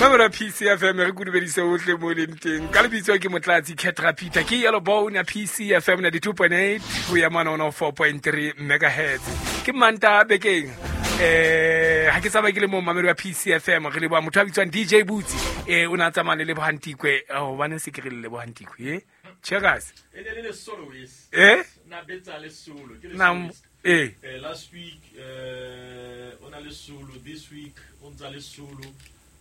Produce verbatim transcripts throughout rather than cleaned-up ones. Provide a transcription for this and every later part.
Mamela P C F M re kudubedise ohle mo leng teng. Ka lebitso ke Motlatsi Ketra Peter ke Yellow Bone ya P C F M ninety-two point eight ho ya mona one oh four point three megahertz. Ke manta bekeng. Eh ha ke tsaba ke le mo mamelo ya P C F M re le bua motho a bitswang D J Boots eh o na tsamaya le Lebohantikwe hobane se ke re le Lebohantikwe eh Checkers e ne le soloist eh na betsa le solo ke le soloist eh last week eh ona le solo this week o ntsa le solo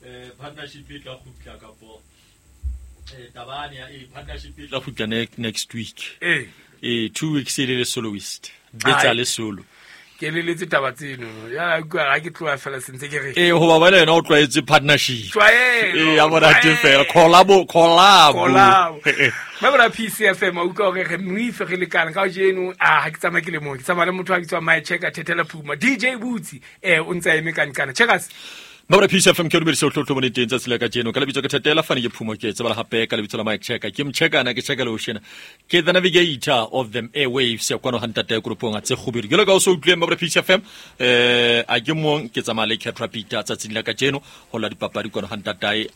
eh partnership e tla khutla kapo eh tabane ya eh partnership e tla khutla next week eh eh two weeks e le soloist betsa le solo ke le letse taba tseno ya ga ke tloa fela sentse ke re eh ho ba bana yena o tlwaetse partnership tlwaelo eh ya bona teng fela collabo collabo collabo ba P C F M o utlwa hore re moife re lekana ka jeno a ha ke tsamaya ke le mong ke tsamaya le motho a bitswang My Checker Thethela Phuma D J Boots eh o ntsa eme ka nkana Checkers Mabra P C F M ke dumedisa o tlotlo bone teng tsatsi la kajeno ka lebitso ke Thethela fane ke Phumo ke tsebala hape ka lebitso la Mike Checker ke mchekana ke checker le oshena ke the navigator of them airwaves ya kwano hantate ya grupong a tse kgubedu ke le ka o so utlweng Mabra P C F M eh a ke mong ke tsamaya le Ketra Peter tsatsing la kajeno ho la dipapadi kwano hantatae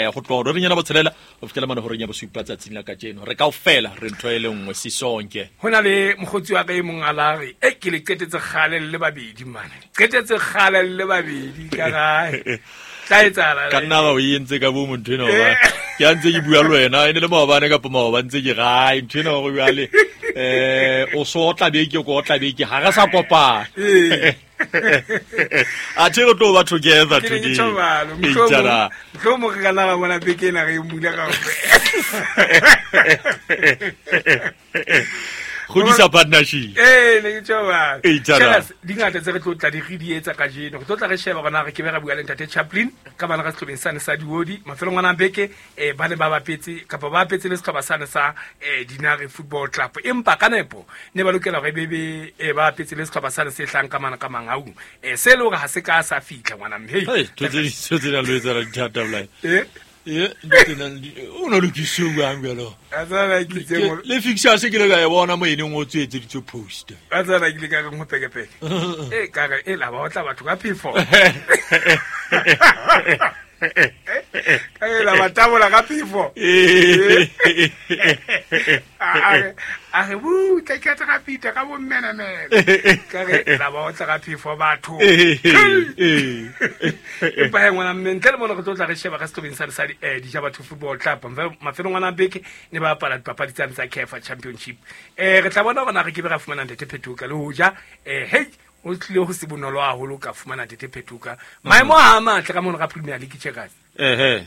ho tloha re nyana botshelela ho fihlela mane horeng ya bosupa tsatsing la kajeno re kaofela re ntho e le nngwe sisonke hona le mokgotsi wa ka e mong a la re e ke le qetetse kgale le babedi mane qetetse kgale le babedi ka ga tla etsala ka nna ba o entse ka bo motho ena ba ke a ntse ke bua le wena ene le maobane kapa maobane ntse ke gae ntho ena gore jwale eh o so tla be ke ko tla be ke ha re sa kopana a tshelo tlo ba together today ke tlo mo re kana bona beke ena re mula ka godisa partnership eh ne ke tjoba Checkers di ngata tse re tlo tla di re di etsa kajeno re tlo tla re sheba gona re ke be ra bua le ntate Chaplin ka bana ka sehlobeng sane sa Diodi mafelong ana beke eh ba ne ba bapetse kapa ba bapetse le sehlopha sane sa eh Dinare Football Club empa ka nepo ne ba lokela hore bebe eh ba bapetse le sehlopha sane se hlang ka mana ka Mangaung eh se le hore ha se ka sa fitla ngwana mme hey tse di tse la lo etsa dithata bolai eh eh o no lokise bang jalo a tsana ke tse mo le fixture se ke le ka e bona mo ene o tswetse ditso post a tsana ke le ka re mo peke peke e ka re e la ba otla batho ka phefo ka e la ba tabola ka phefo a re bu tla ke tla pita ka bo mmena mena ka re la ba otla ka phefo batho e pa ngwana mme ntle le mona re tlo tla re sheba ka sehlobeng sa sa eh di Jabatho Football Club mafelong ana beke ne ba bapala dipapadi tsa tsa C A F Championship eh re tla bona hore na re ke be ra fumana Ntate Phetoka le hoja eh hey o tlile ho se bonolo haholo ka fumana Ntate Phetoka maemo a matle ka mona ka Premier League Checkers eh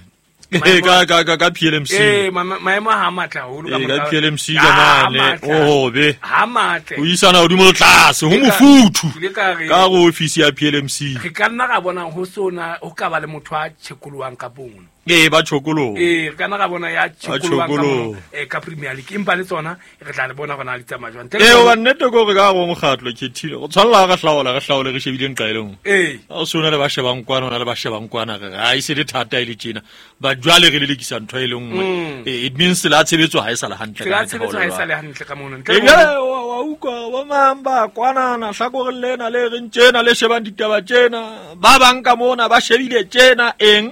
eh ka ka ka ka P L M C eh maemo a matle haholo ka mona ka P L M C ka mane oh be ha matle o isana hodimo le tlase ho mofuthu ka go office ya P L M C re ka nna ra bona ho sona ho ka ba le motho a tshekoloang ka bono eh ba tshokolo eh re kana ra bona ya tshokoloang ka mono eh ka Premier League empa le tsona re tla le bona gona le tsamaya jwang eh o ba nnete go re ka go mokgatlo khethile go tshwanela ga hlaola re hlaole re shebile nqa ile nngwe eh a o sona le ba shebang kwana ona le ba shebang kwana re ha ise le thata ile tjena ba jwale re le lekisa ntho e le nngwe it means la tshebetso ha e sala hantle ka tshebetso ha e sala hantle ka mono ntle eh wa utlwa ba mang ba kwana na hlakore lena le re ntjena le shebang ditaba tjena ba bang ka mona ba shebile tjena eng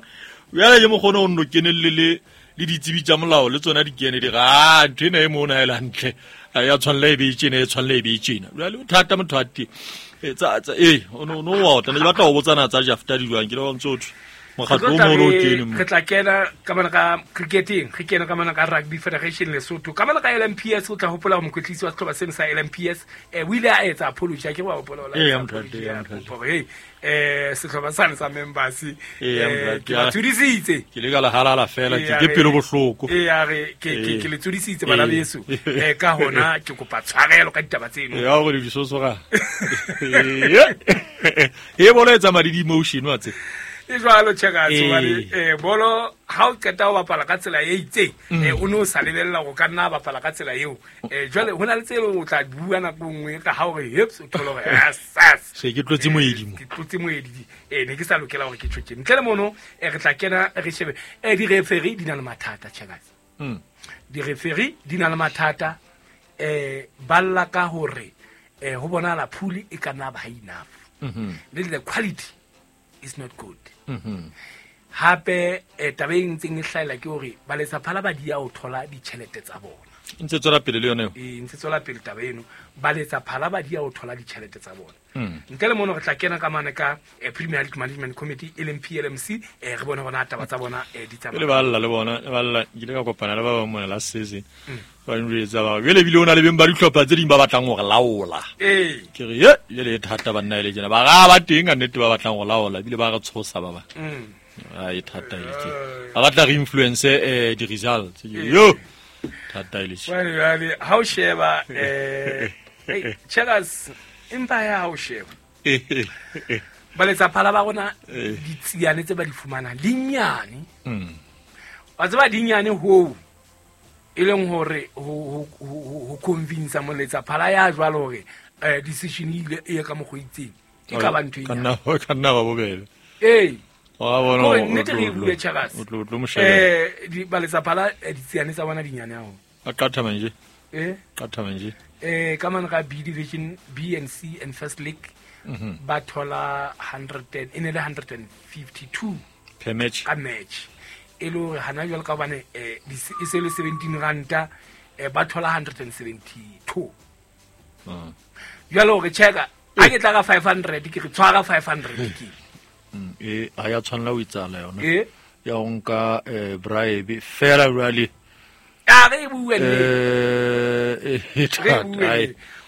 jwale ke mokgone o nno kenelle le le ditsebi tsa molao le tsona di kene di ga ntho ena e mona e le hantle ya tshwanela e be tjena e tshwanela e be tjena jwale o thata motho a teng tsa tsa eh o no no wa otla ne ke batla ho botsana tsa Jafta di jwang ke le wa ntso thwe mokgatlo o mo o kene re tla kena ka mana ka cricketing re kena ka mana ka Rugby Federation Lesotho ka mana ka L M P S o tla hopola ho mokwetlisi wa sehlopha seno sa L M P S eh o ile a etsa apology ke wa hopola eh ya mthate ya mthate eh sehlopha sane sa members eh ke ba tsudisitse ke le ka la halala fela ke ke pelo bohloko eh ya re ke ke ke le tsudisitse bana beso eh ka hona ke kopa tshwarelo ka ditaba tseno ya gore di sosoga eh bona etsa madi di emotion wa tse e jwalo Checkers hobane eh bolo ha o qeta ho bapala ka tsela e itseng eh o no sa lebella go ka nna bapala ka tsela eo eh jwale hona le tsela o tla bua nako nngwe ka ha o re hips o thole hore yes yes se ke tlotse moedi mo ke tlotse moedi eh ne ke sa lokela hore ke tjho ntle le mono eh re tla kena re shebe eh di referee di na le mathata Checkers mm di referee di na le mathata eh balla ka hore eh ho bona la phuli e ka nna ba enough mm le the quality is not good. Mm-hmm. Hape eh, taba e ntseng e hlahela ke hore baletsaphala ba di ya ho thola ditjhelete tsa bona. Ntse tswela pele le yona eo. E ntse tswela pele taba eno, baletsaphala ba di ya ho thola ditjhelete tsa bona. Mm. Ntle le mono re tla kena ka mane ka eh, Premier League Management Committee e leng P L M C, eh, re bone hore taba tsa bona eh, di tsamaya. Le balla le bona, le balla ke ile ka kopana le ba bang mona la season. Mm. Ba njwetsa ba jwale ebile o na le beng ba dihlopha tse ding ba batlang hore laola. Ee. Ke re ye jwale e thata banna e le tjena. Ba ra ba teng ka nnete ba batlang ho laola ebile ba re tshosa ba ba. Mm. A e thata e le tje. Ba batla re influence eh di results. Yo. Thata e le tje. Jwale jwale ha o sheba eh hey, Checkers empa ya ha o sheba. Baletsaphala ba rona ditsiane tse ba di fumanang di nyane. Mm. Wa tseba di nyane ho e leng hore ho ho convince moletsaphala ya jwalo hore eh decision ile e ka mokgwa itseng. E ka ba ntho e. Ka nna ka nna ba bobebe. Ee. Wa bona o nnete re bue Checkers. O tlo tlo moshebe. Eh di baletsaphala ditsiane tsa bona di nyane haholo. A qatha manje. Eh qatha manje. Eh ka mane ka B division, B and C and First League mm-hmm. ba thola one hundred e ne le one hundred fifty-two per match. Ka match. E le hore hana jwale ka hobane eh e se le seventeen ranta eh ba thola one hundred seventy-two. Mm. Jwale hore checka a ke tla ka five hundred ke re tshwara five hundred ke. Mm, e ha ya tshwanela ho itsala yona. Eh ya ho nka eh bribe fela jwale. A re bue le. Eh e thata.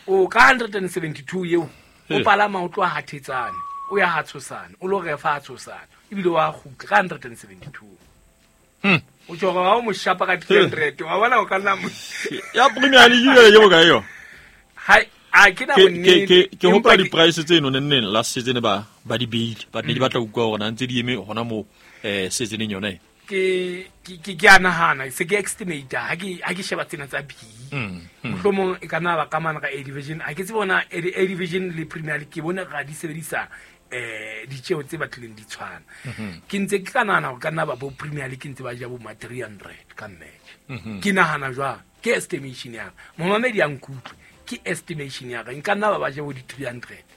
O ka one hundred seventy-two eo o palama o tloha Hathetsane o ya Hatshosane o lo refa Hatshosane ebile wa kgutla ka one hundred seventy-two. Hmm. O tjho ha o mo shapa ka three hundred wa bona o ka nna ya Premier League jwale ke bokae yo? Ha a ke na bonnete. Ke ke hopola di price tseno nenneng last season ba ba di beile but ne di batla utlwa hore na ntse di eme hona mo eh seasoneng yona e. Ke ke ke a nahana se ke estimate ha ke ha ke sheba tsena tsa B. Mohlomong e ka nna ba ka mane ka A division ha ke tsebe bona A division le Premier League ke bona ga di sebedisa eh ditjeo tse batlileng di tshwana. Ke ntse ke ka nahana hore ka nna ba bo Premier League ntse ba ja bo ma three hundred ka match. Ke nahana jwang ke estimation ya momamedi ya nkutlwe ke estimation ya ka nka nna ba ba ja bo di three hundred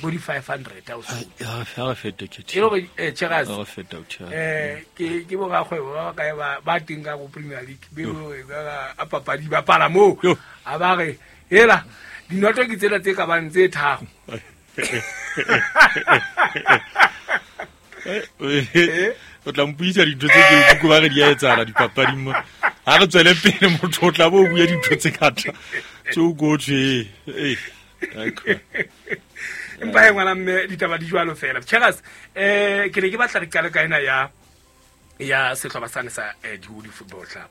bo di five hundred a o so ya fa fete ke e lo eh Checkers re feta o tjha eh ke ke bo rakgwebo ba kae ba ba teng ka go Premier League be bo ba a papadi ba pala mo a ba re hela dinoto ke tsela tse ka bang tse tharo. O tla mpuisa dintho tse ke go ba re di a etsala dipapading mo ha re tswele pele motho o tla bo bua dintho tse ngata tse o go tshwe eh empa e ngwana mme ditaba di jwalo fela. Checkers eh ke ne ke batla re qale ka ena ya ya sehlopha sane sa Dihodi Football Club.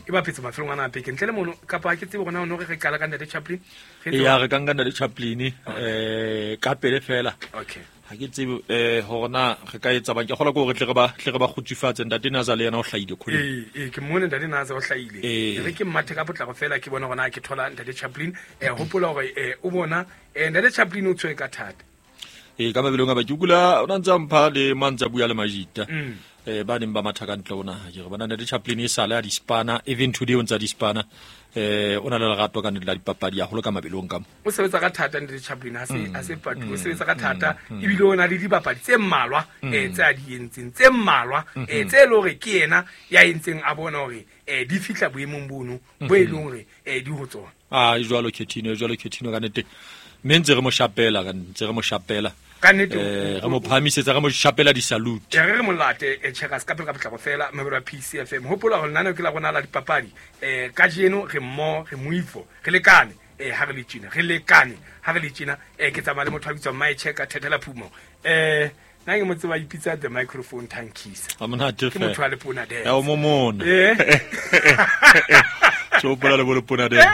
E bapetse mafelong ana a beke ntle le mono kapa ke tsebe gona ono re re qala ka Ntate Chaplin. Ya re ka nka Ntate Chaplin eh ka pele fela. Okay. Ha ke tsebe eh hore na re ka etsa bang ke kgola ke hore tle re ba tle re ba kgutsufatse Ntate Naza le yena o hlahile khole. Ee ee ke mmone Ntate Naza o hlahile. Re ke mmathe ka potlako fela ke bona gona ke thola Ntate Chaplin eh hopola hore eh o bona eh Ntate Chaplin o tshwere ka thata. Ee ka mabelong a ba ke kula o ntse mpha le mantsa bua le majita. Eh ba neng ba matha ka ntle ona ke re bona Ntate Chaplin e sale a di spana even today o ntsa di spana eh o na le lerato ka nnete la dipapadi haholo ka mabelong ka mo o sebetsa ka thata Ntate Chaplin ha se ha se patu o sebetsa ka thata ebile o na le dibapadi tse mmalwa eh tse a di entseng tse mmalwa eh tse le hore ke yena ya entseng a bona hore eh di fihla boemong bono bo e leng hore eh di ho tsona. Ah jwalo Ketino jwalo Ketino ka nnete mme ntse re mo shapela ka ntse re mo shapela ka nnete eh re mo phahamisetsa re mo shapela di salute re re molate e Checkers ka pele ka potlako fela mabelo a P C F M hopola hore nana ke la rona la dipapadi eh kajeno re mmo re moifo re lekane eh ha re le tjena re lekane ha re le tjena eh ke tsamaya le motho a bitswang My Checker Thethela Phumo eh nna ke mo tseba ipitsa the microphone tankisa a monate ke motho a le pona dance ya o momona eh tso pola le bo le pona dance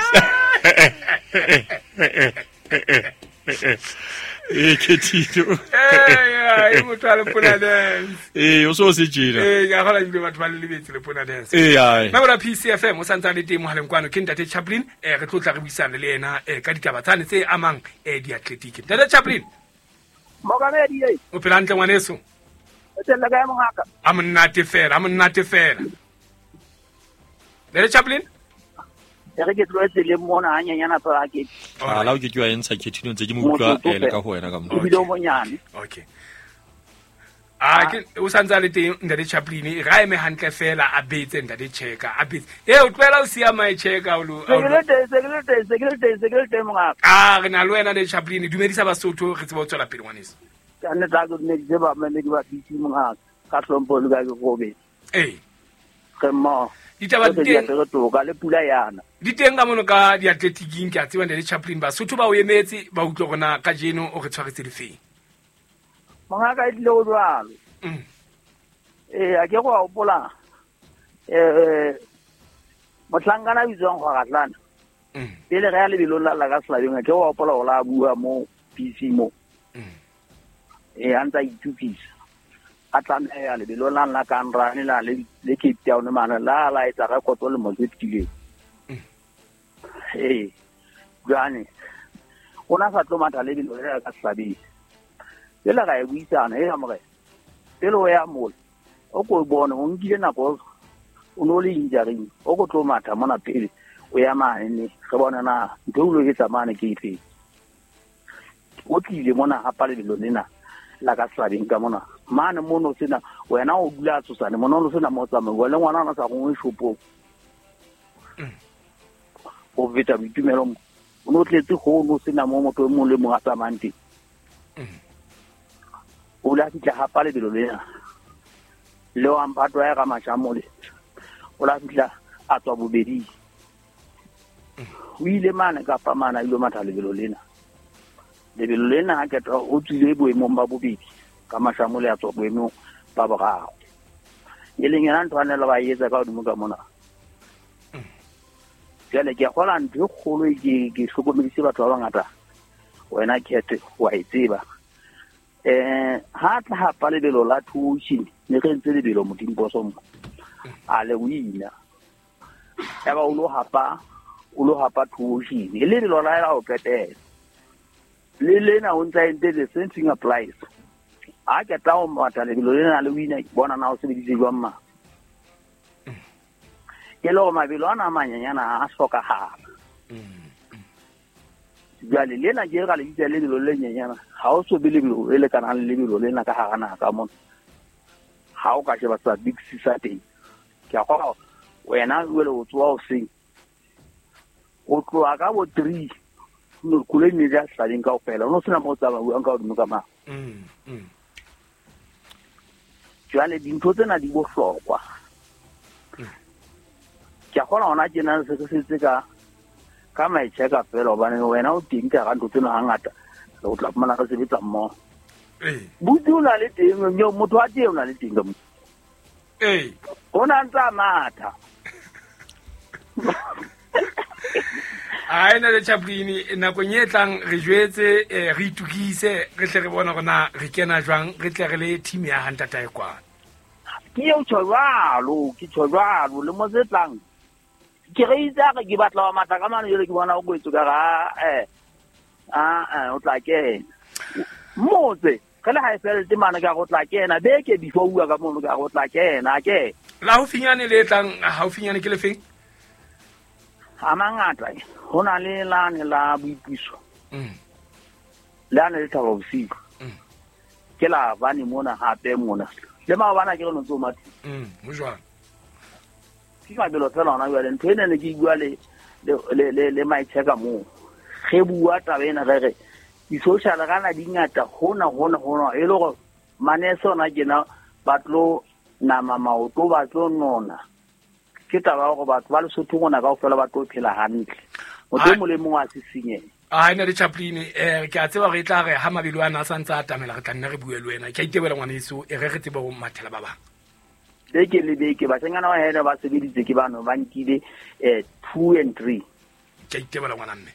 e ke tito eh e motho a le pona dance eh o so se tjena eh ka gola ebile batho ba le lebetse le pona dance eh ai mabelo a P C F M o santse a le teng mohaleng kwano ke Ntate Chaplin eh re tlo tla re buisana le yena eh ka ditaba tsane tse amang eh diatletiki. Ntate Chaplin Mogamedi e o phela hantle ngwaneso o tella kae mongaka a monate fela a monate fela Ntate Chaplin e re ke tloetse le mona hanyanyana fela ke a la o ke ke wa entsha Ketino ntse ke mo utlwa le ka ho wena ka mo ebile o monyane okay A ke o santse a le teng ntate Chaplin e ra eme hantle fela a betse ntate Cheka a betse e o tlohela o siya my Cheka o lo Se ke le teng, se ke le teng, se ke le teng, se ke le teng mongaka. A re na le wena ntate Chaplin dumedisa Basotho re tsebe ho tswela pele ngwaneso. Ka nnete ha ke dumedise ba mmele ke ba bitse mongaka ka hlompho le ka ke robetse. Ee. Re mmoho. Ditaba di Tsohle di teng apere toka le pula yana. Di teng ka mono ka diatletiking ke a tseba ntate Chaplin Basotho ba o emetse ba utlwe hore na kajeno o re tshwaretse difeng. Mongaka e tlile ho jwalo. Mm. Ee, a ke go a hopola eh mohlankana a bitswang Kgwaratlana. Mm. Pele re ya lebelong la la ka Selabeng, a ke go a hopola hore a bua mo P C mo. Mm. Ee, a ntse a itukisa. A tlameha lebelong la la Kanrane la le le Cape Town mane la la etsa rekoto le mo tse fetileng. Mm. Ee, jwale o na sa tlo matha lebelo le la ka Selabeng. Pele ra e buisana e morena. Pele o ya mola o ko bone o nkile nako o no le injury o ko tlo matha mona pele o ya mane ne re bona na ntho o lo etsa mane ke efe. O tlile mona hapa lebelo lena la ka Selabeng ka mona mane mono sena wena o dula tsosane mona o sena mo tsamaya le ngwana ona sa gongwe shopong. O feta boitumelo mo o no tletse ho no sena mo motho e mong le mong a tsamayang teng. O la fihla hapa lebelo lena le wa mphato wa ka Mashamole o la fihla a tswa bobedi. O ile mane kapa mane a ilo matha lebelo lena. Lebelo lena ha ketwa o tswile boemong ba bobedi ka Mashamole a tswa boemong ba boraro. E leng yona ntho a ne le ba etsa ka hodimo ka mona. Jwale ke a kgolwa ntho e kgolo e ke ke hlokomedise batho ba bangata wena Khethe wa e tseba. Eh ha tla hapa lebelo la two ocean ne re ntse lebelo Modimposo mo a le wina ya ba o lo hapa o lo hapa two ocean e lebelo la la o qetela le lena o ntsa entse the same thing applies. A ke tla o matha lebelo lena le wina bona na o sebeditse jwang ma ke le hore mabelo ana a manyenyana a hlokahala. Jwale lena ke re le bitsa lebelo le nyenyana ha o so be lebelo le lekanang le lebelo lena ka hara naha ka mona. Ha o ka sheba sa big C sa teng ke a kgolwa wena jwale o tsoha hoseng o tloha ka bo three no koloi ne di a Selabeng kaofela o no sena mo o tsamayang ka hodimo ka mane. Mm, mm. Jwale dintho tsena di bohlokwa. Ke a kgolwa hona tjena se re setse ka ka maitsheka fela hobane wena o teng ka hara ntho tsena hangata re o tla fumana re sebetsa mmoho. Ee. Buti o na le teng motho wa teng o na le teng ka mo. Ee. O na ntse a matha. Ai ntate Chaplin nakong e tlang re jwetse eh, re itukise re tle re bone hore na re kena jwang re tle re le team ya ha ntatae kwana. Ke eo tjho jwalo, ke tjho jwalo le mo tse tlang. Ke re itse a re ke batla wa matha ka mane jwale ke bona o kwetswe ka re eh ah eh o tla kena. Motse re le ha e felletse mane ka re o tla kena beke before o bua ka mono ka re o tla kena ke. La haufinyane le tlang haufinyane ke lefeng? A mangata ho na le lane la boipuso. Mm. Lane le Thaba Bosiu. Mm. Ke la bane mona hape mona. Le maobane ke re no ntso matha. Mm, ho jwang? Ke mabelo fela hona jwale ntho ena ne ke bua le le le le maitsheka moo. Re bua taba ena re re di-social kana di ngata hona hona hona e le hore manese ona kena ba tlo nama maoto ba tlo nona. Ke taba ya hore batho ba Lesotho mona kaofela ba tlo phela hantle. Motho e mong le mong a sisinyehe. Ai ntate Chaplin eh ke a tseba hore e tla re ha mabelo ana a santse a atamela re tla nna re bue le wena. Ke a itebela ngwaneso e re re tsebe ho mathela ba bang. Beke le beke bashanyana ba hena ba sebeditse ke bano ba nkile eh two and three. Ke a itebela ngwana mme.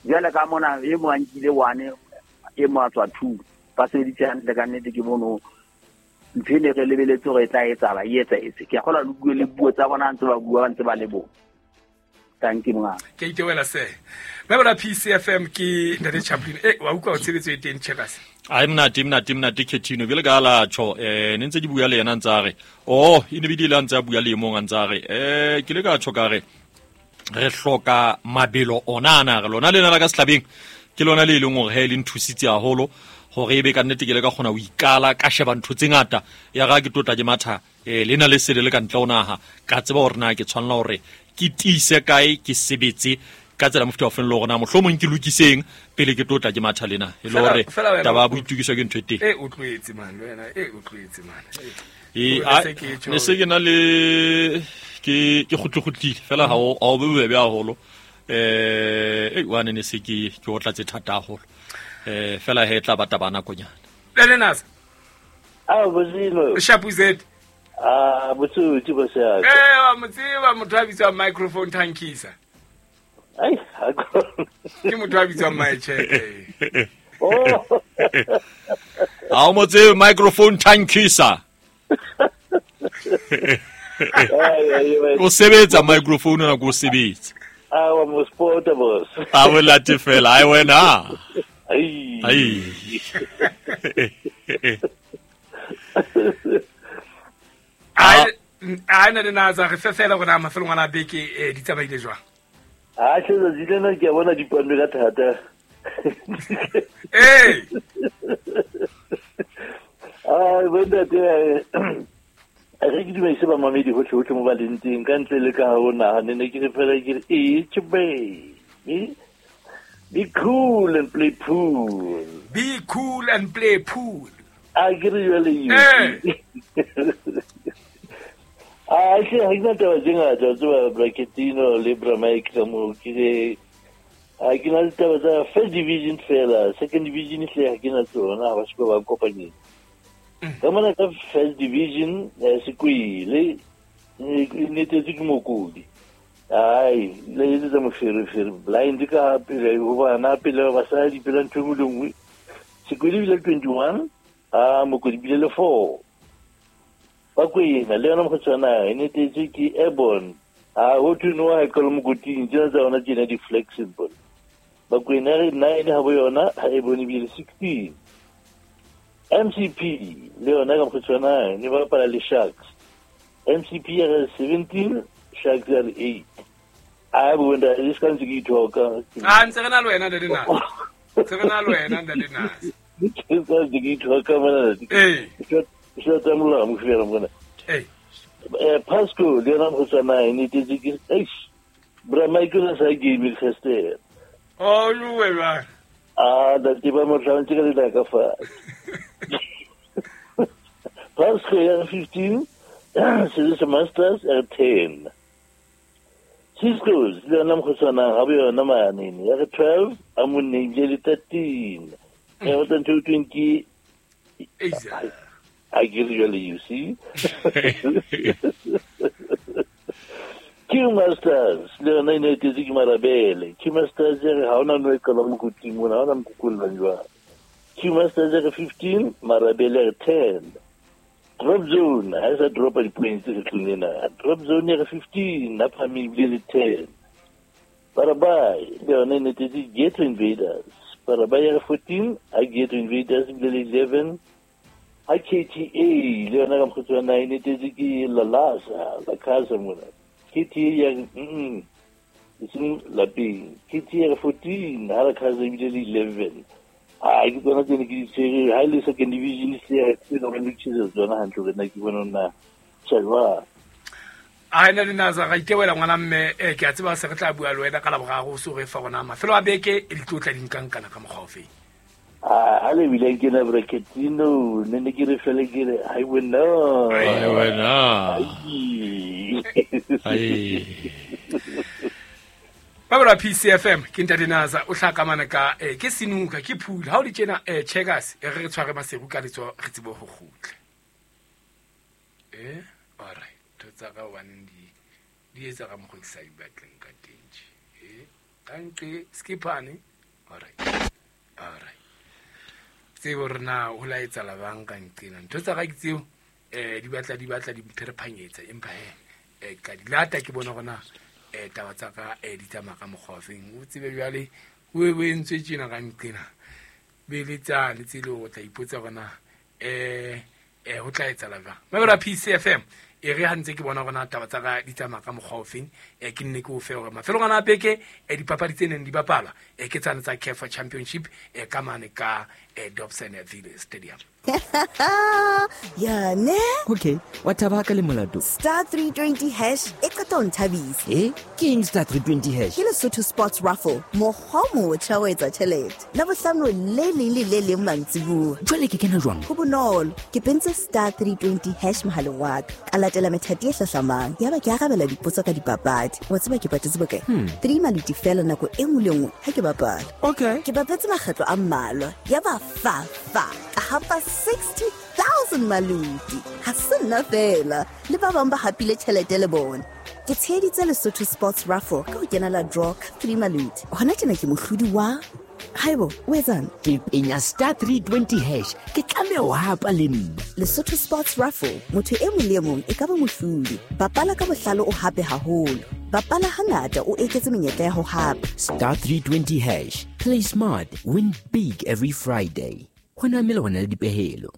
Jwale ka mona e mo a nkile one e mo a tswa two ba sebeditse hantle ka nnete ke bono ntho e ne re lebeletse hore e tla etsahala e etsahetse. Ke a kgolwa le bue le puo tsa bona ntse ba bua ba ntse ba le bo. Thank you mongaka. Ke a itebela se. Mme P C F M ke ntate Chaplin e wa utlwa tshebetso e teng Checkers. Ai mnate mnate mnate Khetino bjale ka la tjho eh ne ntse ke bua le yena ntse a re oh e ne bidile ntse a bua le mong ntse a re eh ke le ka tjho ka re re hloka mabelo ona ana re lona lena la ka Selabeng ke lona le leng hore he le nthusitse haholo gore e be ka nnete ke le ka kgona ho ikala ka sheba ntho tse ngata ya ga ke tlotla ke matha eh lena le sele le ka ntle ho naha ka tseba hore na ke tshwanela hore ke tiise kae ke sebetse ka tsela mofuta wa feng le hore na mohlomong ke lokiseng pele ke tlotla ke matha lena e le hore taba ya boitukiso ke ntho e teng e o tloetse man le wena e o tloetse man e ne se ke na le ke ke kgutlukutlile fela ha o ha o bobebe haholo eh e wane ne se ke ke o tlatse thata haholo eh fela he tla bata bana konyana le nasa a bozilo Shapuzet ah botsuti bosa eh wa motsiba motho a bitswa microphone tankisa ai ke motho a bitswa my check oh a o motse microphone tankisa o sebetsa microphone na go sebetsa a wa mo sport boss a o late fela ai wena ai ai ai ai na na za re fela gona mafelong ana beke e di tsamaile jwang a tshela zilena ke bona dipando ka thata eh ai wena te re ke dumedise ba mamedi hohle hohle mo ba leng teng ka ntle le ka ho nahane ne ke re fela ke re e tjbe be cool and play pool. Be cool and play pool. I agree with you. Ah, sì, ha ke taba tse ngata tsa Bracketino le Bra Mike ka mo ke re ha ke na taba tsa first division fela, second division hle ha ke na tsona ha ba se ba kopanyeng. Ka mona ka first division Sekwele e netetse ke Mokodi. Ai, le etsetsa moferefere blind ka pele ho bana pele basadi pele ntho e nngwe le nngwe. Sekwele bile twenty-one, a Mokodi bile le four. Bakwena le yona mokgotshwana e netetse ke airborne. A ho thwe no ha e qala mokoting tsena tsa yona tjena di flexible. Bakwena re nine ha bo yona ha e bone bile sixteen. M C P le yona ka mokgotshwana ne ba bapala le Sharks. M C P ya re seventeen, Sharks ya re eight. A bo nda le ska ntse ke ithoka. A ntse re na le wena ntate Nasa. Ntse re na le wena ntate Nasa. Ke ntse ke ithoka mona. Eh. Ke tsa molao mo fela mona. Eh. Eh Pasco le yona mokgotshwana e netetse ke eish. Bra Michael sa game Christe. Oh luwe ba. Ah, da ke ba mo tlantse ka le ka fa. Pasco ya fifteen, Swiss Masters at ten. Cisco's le yona mokgotshwana ha bo yona mane ya twelve, a monne le thirteen. E o tantho twenty. Exactly. I give you a you see. Q Masters, le yona e netetse ke Marabele. Q Masters ya re ha ona no e qala mokoting mona, ha ona mokokollang jwang. Q Masters ya re fifteen, Marabele ya re ten. Drop zone, ha e sa dropa di-points kgetlong ena. Drop zone ya re fifteen, a phahameng ebile le ten. Parabai, le yona e netetse Ghetto Invaders. Parabai ya re fourteen, a Ghetto Invaders ebile le eleven. A K T A le yona ka mokgotshwana e netetse ke Lalasa, La Casa mona. K T A ya re mm e seng lapeng. K T A ya re fourteen, ha La Casa ebile le eleven. A ke tsona tsene ke di tshwere ha e le second division se ya ke no re lokisitse tsona hantle hore na ke bona na tjhelwa. A ena le Nasa ga itewela ngwana mme eh ke a tseba se re tla bua le wena ka la boraro o so re fa rona mafelo a beke e ditlotla dinkankana ka mokgwa o feng. Ah, ha le bile ke na Bracketino ne ne ke re fele ke re hai wena. Ai wena. Ai. Babela P C F M ke ntate Nasa o hlakamana ka eh ke sinuka ke phula ha o di tjena eh checkers e re re tshware maseru ka letso re tsebo ho kgutla. Eh all right to tsa ka one di di etsa ka mokgwa ke sa di batleng ka teng tje. Eh ka nqe skipane all right. All right. Tsebo re na ho la etsa la banka nqena ntho tsa ka ke tseo eh di batla di batla di pherphanyetsa empa he eh ka di lata ke bona gona eh taba tsa ka eh di tsamaya ka mokgwa feng o tsebe jwale o e entswe tjena ka nqena be le tsa le tsele o tla ipotsa gona eh um ho tla etsahala jwang. Mabelo a P C F M e re ha ntse ke bona hore na taba tsa ka di tsamaya ka mokgwa ofeng, um ke nne ke o fe hore mafelong ana a beke um dipapadi tse neng di bapalwa um ke tsane tsa C A F Championship um ka mane ka um Dobsonville Stadium. Ya ne? Okay, wa thaba ka le molato. Star three twenty hash e qeta ho nthabisa. Eh, ke eng star three twenty hash? Ke Lesotho Sports Raffle, mokgwa o motjha wa etsa tjhelete. Labohlano le leng le le leng mantsibuya. Jwale ke kena jwang? Ho bonolo, ke pentse star three twenty hash mohaleng wa ka. Ka latela methati e hlahlamang. Yaba ke arabela dipotso ka dipapadi. Wa tseba ke patetse bokae? Hmm. Three maluti fela nako e nngwe le nngwe ha ke bapala. Okay. Ke bapetse makgetlo a mmalwa. Yaba fa fa ka hapa sixty thousand maluti. Ha se nna fela, le ba bang ba hapile tjhelete le bona. Ke tsheheditse Lesotho Sports Raffle ka ho kenela draw ka three maluti. Hona tjena ke mohlodi wa Haibo, o etsang? Ke penya star three twenty hash. Ke tlameha ho hapa le nna. Lesotho Sports Raffle, motho e mong le e mong e ka ba mohlodi. Bapala ka bohlale o hape haholo. Bapala hangata o eketse menyetla ya ho hapa. Star three twenty hash. Play smart, win big every Friday. Ho na mmele ho na le dipehelo.